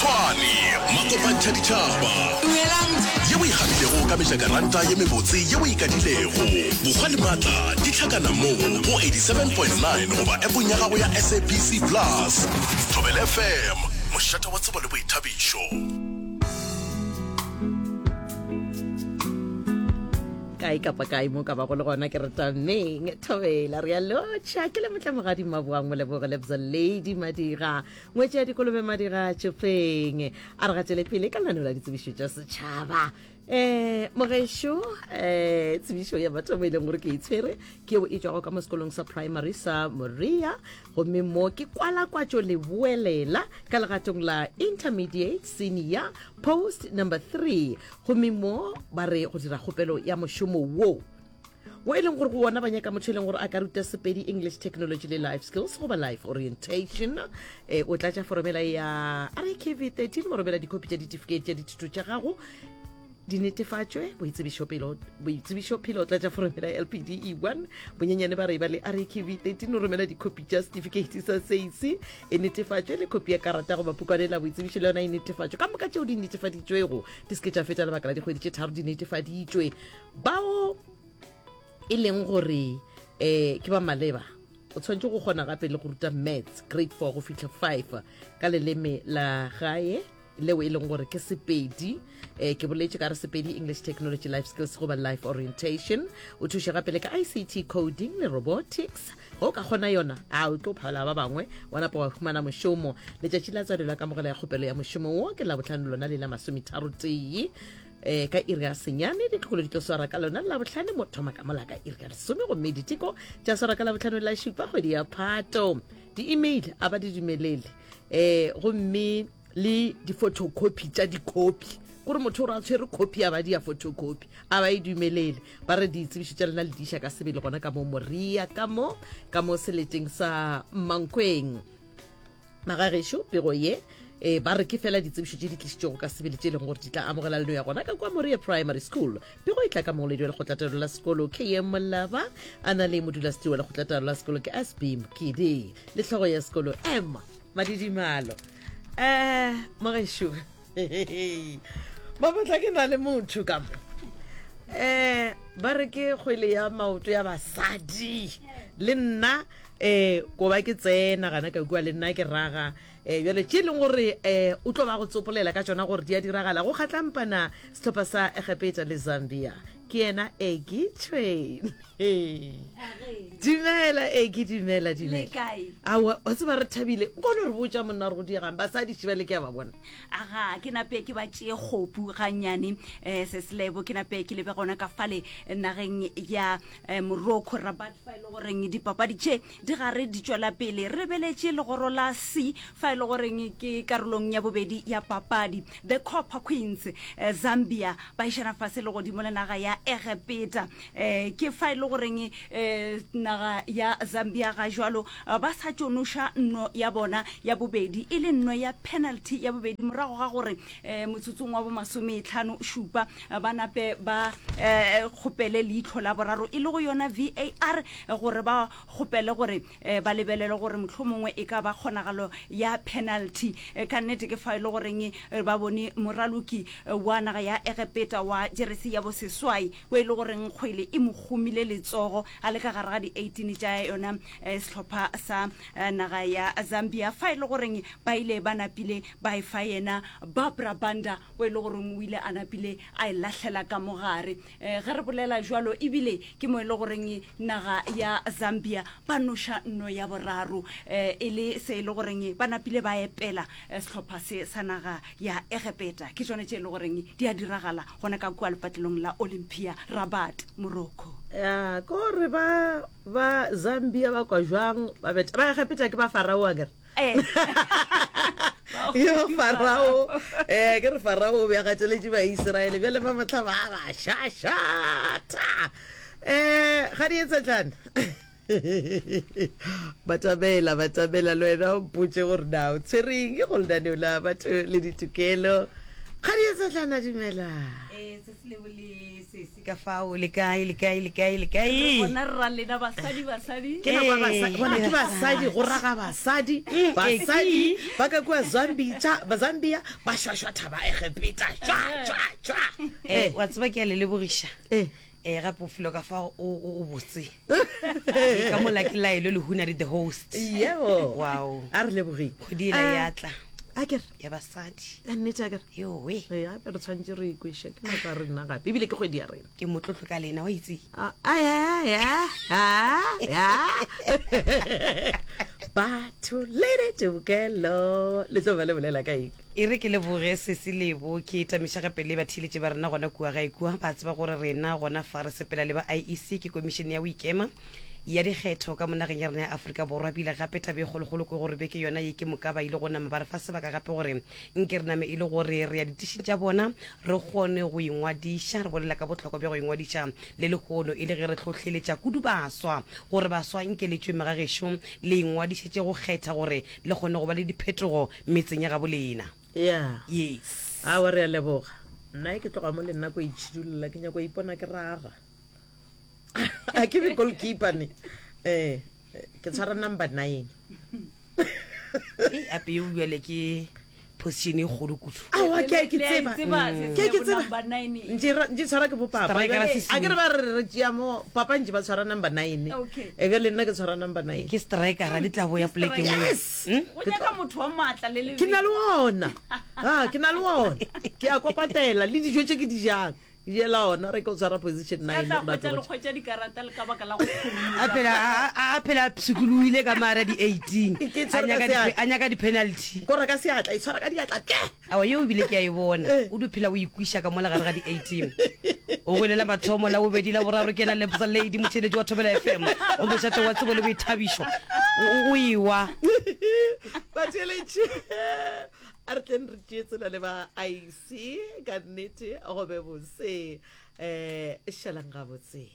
Tshwane, Makopantšha ditšhaba. Ye o e gabilego ka mejakaranta ye mebotse ye o e kadilego. Bokgwa le maatla di hlakana mo go 87.9 goba appong ya gago ya SABC Plus. Thobela FM, mošate wa tsebo le boithabišo. Kae kapa kae mo ka bago le gona ke re tameng thobela re a lotšha ke le motlamogadi maboang moleboge lebza lady madira ngwetši ya dikolobe madira tšopeng a re gatele pele ka lenaneo la ditsebišo tša setšhaba um mogešo um tsebišo ya mathomo e leng gore ke e tshwere ke eo e tšwago ka mo sekolong sa primary sa moria gomme mo ke kwalakwatšo leboelela ka legatong la intermediate senior post number 3 gomme mo ba re go dira kgopelo ya mošomo wo wo e leng gore go wona ba nyaka motho e leng gore a ka ruta Sepedi, English, Technology le Life Skills goba Life Orientation. E, o tlatša foromela ya RKV 13 go romela dikhopi tša ditifikeiti tša dithuto tša gago di netefatšwe boitsebišo phelo o tlatša foromela ya LPD E1 bonyenyane ba re ba le RKV 13 o romela dikhopi tša setifikeiti sa SAC e netefatšwe le khopi ya karata goba pukwane la boitsebišo le yona e netefatšwe ka moka tšeo di netefaditšwego di se ke tša feta lebaka la dikgwedi tše tharo di netefaditšwe Bao e leng gore um ke ba maleba o tshwanetse go kgona gape le go ruta maths grade 4 go fihla 5 ka leleme la gae leo e leng gore ke Sepedi. Um ke boletše ka re Sepedi, English, Technology, Life Skills goba Life Orientation. O thuše gape le ka ICT coding le robotics. Ge o ka kgona yona, a o tlo phala ba bangwe wa napa wa humana mošomo. Letšatši la tswalelo ya kamogelo ya kgopelo ya mošomo wo ke Labohlano lona le la masometharotee. E, ka iri ya senyane ditlogolo di tlo swara ka lona labohlano mo thoma ka mola ka iri ya lesome gomme diteko tša swara ka labohlano la šupa kgwedi ya phato. Di-email a ba di dumelele um gomme le di-photocopy tša dikhopi kore motho o re a tshwere copy a ba di ya photocopy a ba e dumelele. Ba re ditsebišo tša lena le di iša ka sebele gona ka mo Moria ka mo ka mo seleteng sa Mankweng. Magagešo, pego ye e ba re ke fela ditsebišo tše di tlišitšwego ka sebele tše e leng gore di tla amogela leno ya gona ka kua Moria Primary School. Pego e tla ka mongwaledi wa lekgotlataolo la sekolo KM Molaba a na le modulasetiri wa lekgotlataolo la sekolo ke SB Mokidi le hlogo ya sekolo M Madidimalo. Eh, mogešo mabotla ke na le motho ka mo eh ba re ke kgwele ya maoto ya basadi le nna um ko ba ke tsena gana ka kua le nna ke raga um bjale tše e leng gore um o tlo ba go tsopolela ka tšona gore di a diragala go kgatlampana sehlopha sa Egepeta le Zambia ke yena Egi Train dumela Egi dumela dumela aowa wa tseba re thabile nko no re botša monna gore go diegang basadi šiba le ke a ba bona aga ke nape ke ba tšee kgopu gannyane um seselebo ke nape ke lebe gona ka fale nageng ya Eh, Morocco, Rabat, fa e le goreng dipapadi tše di gare di tšwela pele. Re lebeletše legoro la C fa e le goreng ke karolong ya bobedi ya papadi. The Copper Queens, eh, Zambia, ba išana fase le godimo le naga ya Egepeta. Eh, ke fa e le goreng eh, naga ya Zambia ga jwalo eh, ba sa tšo noša nno ya bona ya bobedi e le nno ya penalty ya bobedi morago ga gore eh, motsotsong wa bomasometlhano šupa ba nape ba eh, kgopele leitlho la boraro e le go yona VAR gore ba kgopele gore eh, ba lebelele gore mohlomongwe e ka ba kgonagalo ya penalty. Eh, ka nnete ke fa e le goreng ba bone moraloki wa naga ya Egepeta wa jeresi ya boseswai o e le goreng kgwele e mo kgomile letsogo a le ka gare ga di-18 tša yona sehlopha sa naga ya Zambia fa e le goreng ba ile ba napile ba e fa yena Barbra Banda o e le goreng o ile a napile a e lahlela ka mogare. Um ge re bolela jwalo ebile ke mo e le goreng naga ya Zambia ba noša nno ya boraro um e le se e le goreng ba napile ba epela eh, sehlopha se sa naga ya Egepeta. Ke tšone tše e le goreng di a diragala gona ka kua lepatlelong la Olympia, Rabat, Morocco. Ya, ko gore ba ba Zambia ba kwa jwang ba beta ba Egepeta ke ba Farao akere. Eh. Yo Farao, eh ke re Farao o be a gateletše Baisiraele bjale ba mohla ba ba šašata. Eh ga di etsetlana. Batamela, batamela le wena o mpotše gore na o tshwereng go lenaneo la batho le ditokelo. Ga di. Tsetlana dumela. Eh, se se lebo le sesi ka fao le kae le kae le kae le kae Bona rra lena basadi basadi. Ke nako ya basadi, bona ke basadi go raga basadi, basadi ba ka kua Zambia, ba Zambia ba šwašwa thaba Egepeta, šwa šwa šwa. Eh, wa tseba ke a le lebogiša Eh. eh gape o filo ka fa o o o botse ka mola ke laelo lehuna le the host Yebo. Wow. A re lebogeng. Kgwedi ela ya tla. A ke re. Ya basadi. Ka nnete a ke re. Yowe. Ee, gape re tshwanetse re ikweše ke nako ya rena gape ebile ke kgwedi ya rena. Ke motlotlo ka lena wa itse. A a ya a ya. Batho le ditokelo le tlo ba le bolela ka eng? E re ke leboge Sesi Lebo, ke tamiša gape le batheeletši ba rena gona kua gae kua. Ba tseba gore rena gona fa re sepela le ba IEC, ke Komišene ya go Ikema ya Dikgetho ka mo nageng ya rena ya Afrika Borwa. Bile gape taba e kgolokgolo ke gore beke yona ye ke moka ba ile go nama ba re fa sebaka gape gore nke re name e le gore re ya ditišing tša bona re kgone go ingwadiša. Re bolela ka bohlokwa bja go ingwadiša le lehono e le ge re hlohleletša kudu baswa gore baswa nke le tšwe megagešo le ingwadišetše go kgetha gore le kgone go ba le diphetogo metseng ya gabo lena. Yeah. Yes. Aowa re a leboga. Nna ke tloga mo le nna ko itšhidulla ke nyako ipona ke raga. A ke be goalkeeper ne. Eh, ke tshwara number 9. Ei, ape yo bjale ke position e kgolo kudu. Aowa ke a ke tseba. Ke a ke tseba. Ntše ra- ntše tshwara ke bo papa. Striker se A ke re ba re re tšea mo papa ntše ba tshwara number 9. Okay. E be le nna ke tshwara number 9. Ke striker di tla boya poleke nngwe. Yes. Go nyaka motho wa maatla le Ke na lebelo. le ona. Ah, ke na le ona. Ke a kopatela le dijo tše ke di jang. Ke jela ona re ke o tshwara position Ka 9 tla hwetša le hwetša dikarata le ka baka la go A phumula. phela a a- a phela a pshikoloile ka mara di 18. Ke A tshwere ka nyaka di seatla. a nyaka di penalty. Ko reka seatla, e tshwara ka diatla ke. Awa yeo ebile ke a e bona. Eh. O di phela o ikwiša ka mola gare ga di 18. O goelela mathomo la bobedi la boraro ke yena Lebza Lady motheeletši wa Thobela FM. O mošate wa tsebo le boithabišo. O o ewa. Batheeletši a re tleng re tšee tsela le ba IC ka nnete go be bose. Eh šalang gabotse.